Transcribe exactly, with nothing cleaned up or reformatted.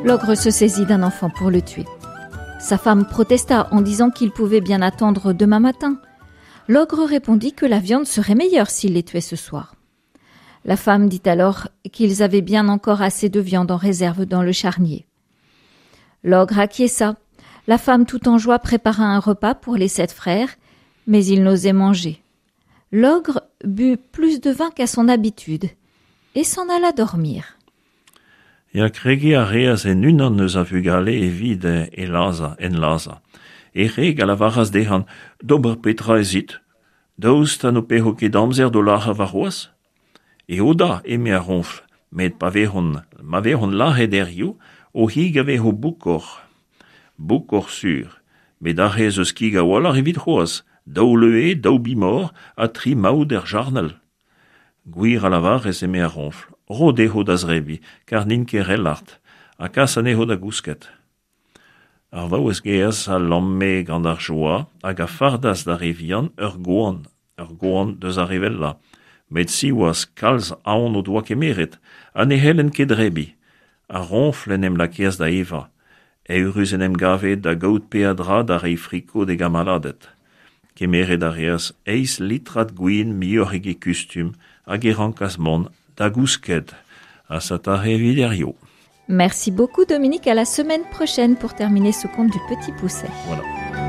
L'ogre se saisit d'un enfant pour le tuer. Sa femme protesta en disant qu'il pouvait bien attendre demain matin. L'ogre répondit que la viande serait meilleure s'il les tuait ce soir. La femme dit alors qu'ils avaient bien encore assez de viande en réserve dans le charnier. L'ogre acquiesça. La femme tout en joie prépara un repas pour les sept frères, mais ils n'osaient manger. L'ogre but plus de vin qu'à son habitude et s'en alla dormir. Ya kregiñ a reas en unan eus a vugale evit e lazhañ, en lazhañ. E wreg a lavaras dezhañ, d'ober petra ez it? Daoust ha n'ho pezo ket amzer d'o lazhañ warc'hoazh? Eo da, eme ar roñfl, met pa vezont, ma vezont lazhet hiziv, o c'hig a vezo boukoc'h. Boukoc'h sur. Met aze ez eus kig a-walc'h evit c'hoazh, daou leue, daou bemoc'h ha tri maout er jarnel. Gwir a lavarez, eme ar roñfl, ro dezho da zebriñ, kar n'int ket re lart, ha kas anezho da gousket. Ar vaouez gaezh a lamme gant ar joa hag a fardas d'ar re vihan ur goan, ur goan deus ar re wellañ. Met siwazh kalz aon o doa kemeret, ha ne c'hellent ket debriñ. Ar roñfl en em lakaas da evañ. Eürus en em gave da gaout peadra da reiñ friko d'e gamaladed. Kemeret a reas eizh litrad gwin muioc'h eget kustum hag e rankas mont da gousket. Ha setu aze evit hiziv. Merci beaucoup Dominique, à la semaine prochaine pour terminer ce conte du Petit Poucet. Voilà.